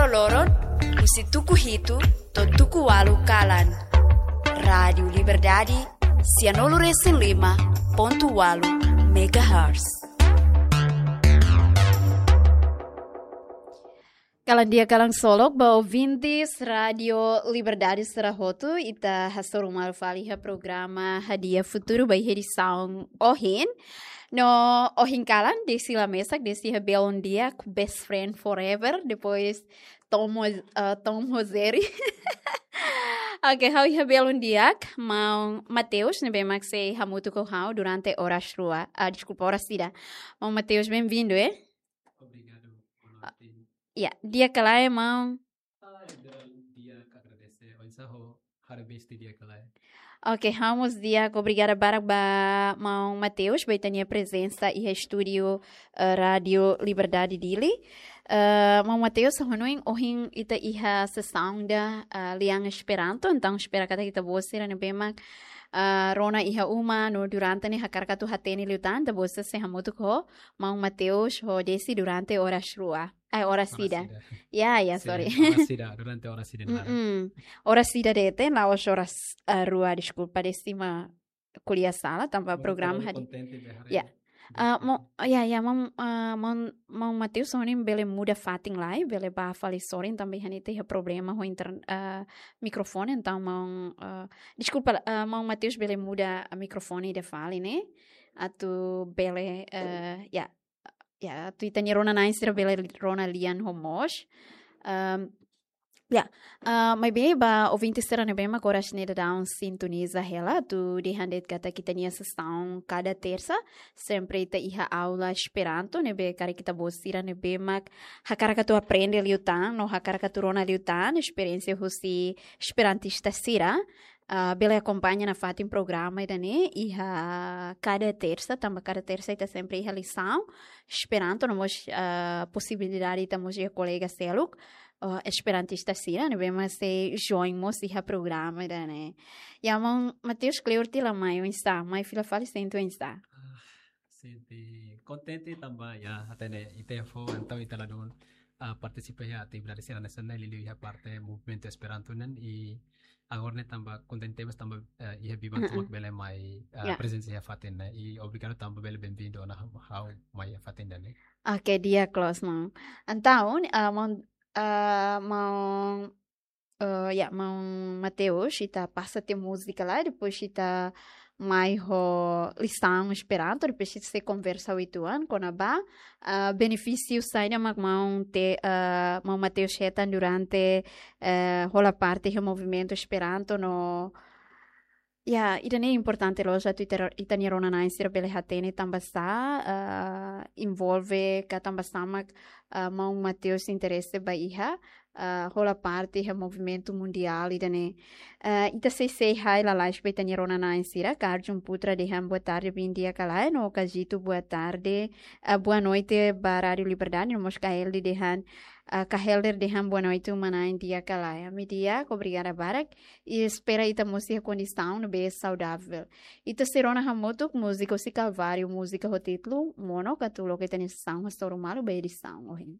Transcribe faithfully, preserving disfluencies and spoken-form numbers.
loron, husi tuku hitu to'o tuku ualu kalan. Rádiu Liberdade, sianulu resin lima pontu ualu megahertz. Kalan di'ak, kalan solok ba ouvintes Rádiu Liberdade sira hotu, ita hasoru malu fali iha programa Hadi'a Futuru ba iha edisaun ohin. No ohin kalan, Desi la mesak, Desi iha belun di'ak, best friend forever, depois Tom, eh, Tom Roseri. Oke, ha'u iha belun di'ak, maun Mateus, ne'ebé mak sei hamutuk ho ha'u durante oras rua, ah, deskulpa, oras ida. Maun Mateus, bem-vindo, eh? Obrigadu, boa noite. Ya, di'ak ka lae, maun? Ah, di'ak, agradese. Oinsá ho, haree besti di'ak ka lae? Oke, ha'u mós di'ak, obrigada barak ba maun Mateus, ba ita-nia prezensa iha estúdiu, eh, Rádiu Liberdade Dili. Eh, maun Mateus, ha'u hanoin ohin ita iha sesaun ida, eh, lian Esperanto, entaun espera katak ita-boot sira ne'ebé mak, eh, rona iha uma, no durante ne'e hakarak atu hatene liután, ita-boot sira sei hamutuk ho maun Mateus, ho Desi durante oras rua. Ai, oras ida. Oras ida. Ya, ya, sin, sorry. Oras ida, durante oras ida. Mm-mm. Oras ida de'it, la'ós oras, eh, rua, deskulpa, Desi mak ko'alia sala, tanba programa hadi. Kontente be haree. Ya. Ah, maun, ya, ya, maun, ah, maun, maun Mateus, ha'u hanoin bele muda fatin lai, bele bá fali sorin, tanba iha ne'e iha problema ho inter-, ah, mikrofone, entaun maun, ah, deskulpa, ah, maun Mateus bele muda mikrofone ida fali ne'e, atu bele, eh, ya, ya, atu ita-nia rona-na'in sira bele rona lian ho mós. Ehm, ya, eh, maibé ba ouvinte sira ne'ebé mak oras ne'e daudaun sintoniza hela, atu dehan de'it katak ita-nia sesaun kada tersa, sempre ita iha aula Esperanto, ne'ebé karik ita-boot sira ne'ebé mak hakarak atu aprende liután, no hakarak atu rona liután esperiénsia husi esperantista sira, ah, bele akompaña nafatin programa ida-ne'e iha kada tersa, tanba kada tersa ita sempre iha lisaun Esperanto, no mós, ah, posibilidade ita mós iha kolega seluk, ah, esperantista sira, ne'ebé mak sei join mós iha programa ida-ne'e. Ya, maun Mateus, kleur tiha lai mai, oinsá, mai fila fali sente oinsá? Ah, sente kontente tanba, ya, hatene ita fó, entaun ita ladún, ah, partisipa iha atividade sira nasionál, liuliu iha parte movimentu Esperanto nian, i agora ne'e tanba kontente tebes tanba, eh, iha biban, mm-mm, tomak bele mai, eh, ya, prezensa iha fatin ne'e. I obrigadu tanba bele bem-vindo ona ha'u mai iha fatin ida-ne'e. Oke, di'ak loos, maun. Entaun, ah, maun, ah, maun, eh, ya, maun Mateus, ita pasa tiha múzika lai, depois ita mai ho lisaun Esperanto, depois ita sei konversa uitoan kona-ba, ah, benefísiu saida mak maun te-, ah, maun Mateus hetan durante, eh, hola parte iha movimentu Esperanto no, ya, ida-ne'e importante loos atu ita, ita-nia rona-na'in sira bele hatene tanbasá, ah, envolve ka tanbasá mak, ah, maun Mateus interese ba iha, ah, hola parte iha movimentu mundiál ida-ne'e. Ah, ita sei say hi lalais ba ita-nia rona-na'in sira, Karjun Putra dehan boa tarde, bom dia ka lae, no Kajito boa tarde, ah, boa noite ba Rádiu Liberdade, no mós Kaeldi dehan, ah, Kahelder dehan boa noite, uma-na'in di'ak ka lae. Ami di'ak, obrigada barak, i espera ita mós iha kondisaun ne'ebé saudavel. Ita sei rona hamutuk múzika husi Kalváriu, múzika ho títulu Mono, atu loke ita-nia sesaun hasoru malu ba edisaun ohin.